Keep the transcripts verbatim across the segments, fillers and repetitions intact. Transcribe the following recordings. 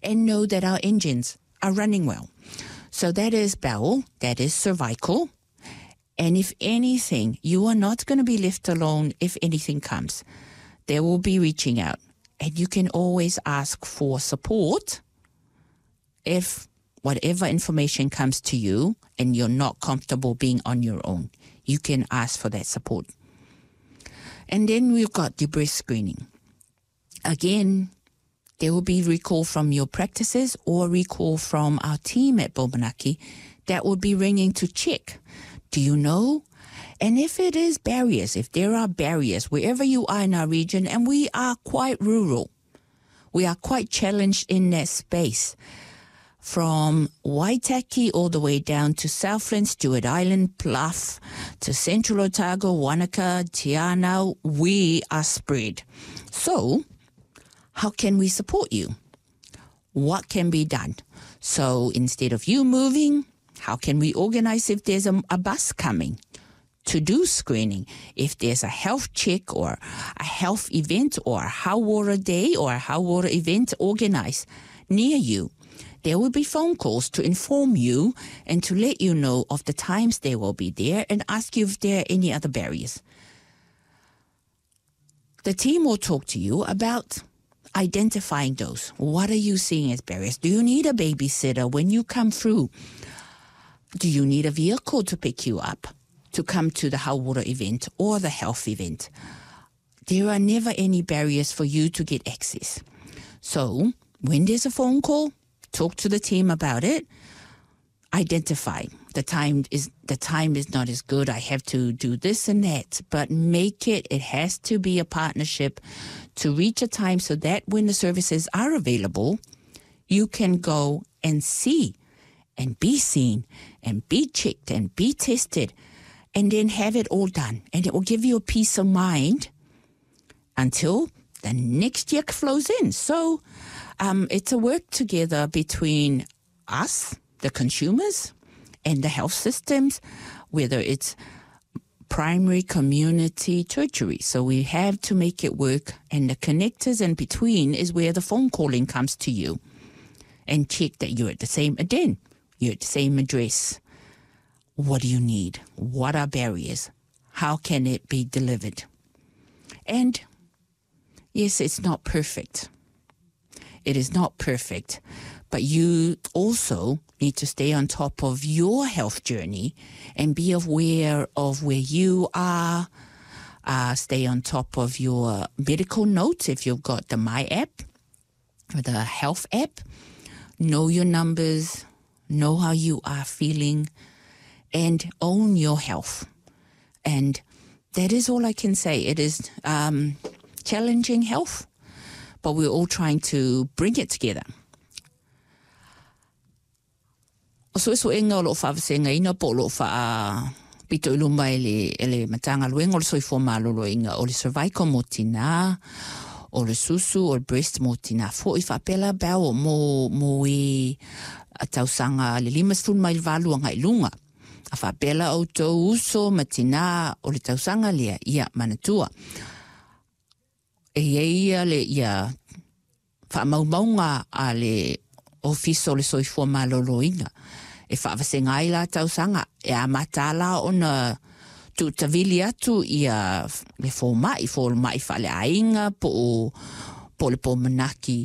and know that our engines are running well. So that is bowel, that is cervical. And if anything, you are not going to be left alone if anything comes. They will be reaching out. And you can always ask for support if whatever information comes to you and you're not comfortable being on your own. You can ask for that support. And then we've got the breast screening. Again, there will be recall from your practices or recall from our team at Bobanaki that will be ringing to check. Do you know? And if it is barriers, if there are barriers, wherever you are in our region, and we are quite rural, we are quite challenged in that space. From Waitaki all the way down to Southland, Stewart Island, Bluff, to Central Otago, Wanaka, Te Anau, we are spread. So, how can we support you? What can be done? So, instead of you moving, how can we organize if there's a, a bus coming to do screening? If there's a health check or a health event or a hauora day or a hauora event organized near you, there will be phone calls to inform you and to let you know of the times they will be there and ask you if there are any other barriers. The team will talk to you about identifying those. What are you seeing as barriers? Do you need a babysitter when you come through? Do you need a vehicle to pick you up to come to the hauora event or the health event? There are never any barriers for you to get access. So when there's a phone call, talk to the team about it. Identify the time is the time is not as good. I have to do this and that, but make it. It has to be a partnership to reach a time so that when the services are available, you can go and see and be seen and be checked and be tested and then have it all done. And it will give you a peace of mind until the next year flows in. So um, it's a work together between us, the consumers, and the health systems, whether it's primary, community, tertiary. So we have to make it work, and the connectors in between is where the phone calling comes to you and check that you're at the same, again, you're at the same address. What do you need? What are barriers? How can it be delivered? And yes, it's not perfect. It is not perfect, but you also need to stay on top of your health journey and be aware of where you are. Uh, stay on top of your medical notes if you've got the My app or the health app. Know your numbers, know how you are feeling, and own your health. And that is all I can say. It is um, challenging health, but we're all trying to bring it together. O suesuega o loo faavasegaina po o loo faapito i luma e le, e le Matagaluega o le Soifua Maloloina o le cervical mo tinā, o le susu, o le breast mo tinā fo'i faapea la bowel mo, mo e tausaga le lima sefulu mai le valu agai luga. A faapea la outou uso ma tinā o le tausaga lea, ia manatua. E iai ia le ia faamaumauga a le Ofisa o le Soifua Maloloina. E faavasega ai la tausaga e amata la ona tuutavili atu ia le foma'i, foma'i faaleaiga po o po o le pomanaki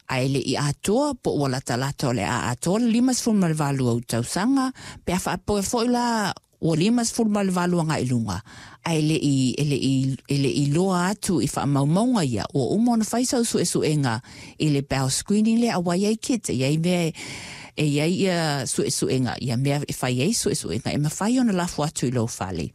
ae le'i atoa po ua latalata o le a atoa le lima sefulu ma le valu au tausaga pe a faapea fo'i la ua lima sefulu ma le valu agai luga ae le'i e le'i e le'i loa atu i faamaumauga ia ua uma ona fai sau suesuega i le bowel screening lea auā iai kit e iai mea e iai ia suesuega ia mea e fai ai suesuega e mafai ona lafo atu i lou fale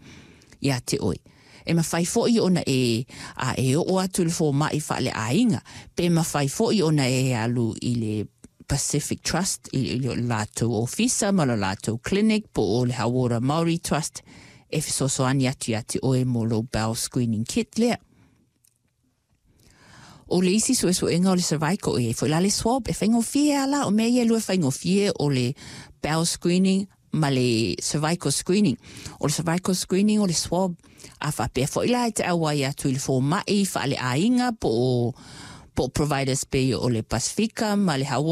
iā te oe. E mafai fo'i ona e a e oo atu i le foma'i faaleaiga pe mafai fo'i ona e alu i le Pacific Trust i le latou ofisa ma le latou clinic po o le Hauora Māori Trust e fesoasoani atu iā te oe mo lou bowel screening kit lea. O le isi suesuega o le cervical e iai fo'i la le swab e faigofie a la o mea ia e lua e faigofie o le bowel screening ma le cervical screening. O le cervical screening o le swab a faapea fo'i la e te auai atu i le foma'i faaleaiga po o po o providers pei o le Pasifika ma le Hauora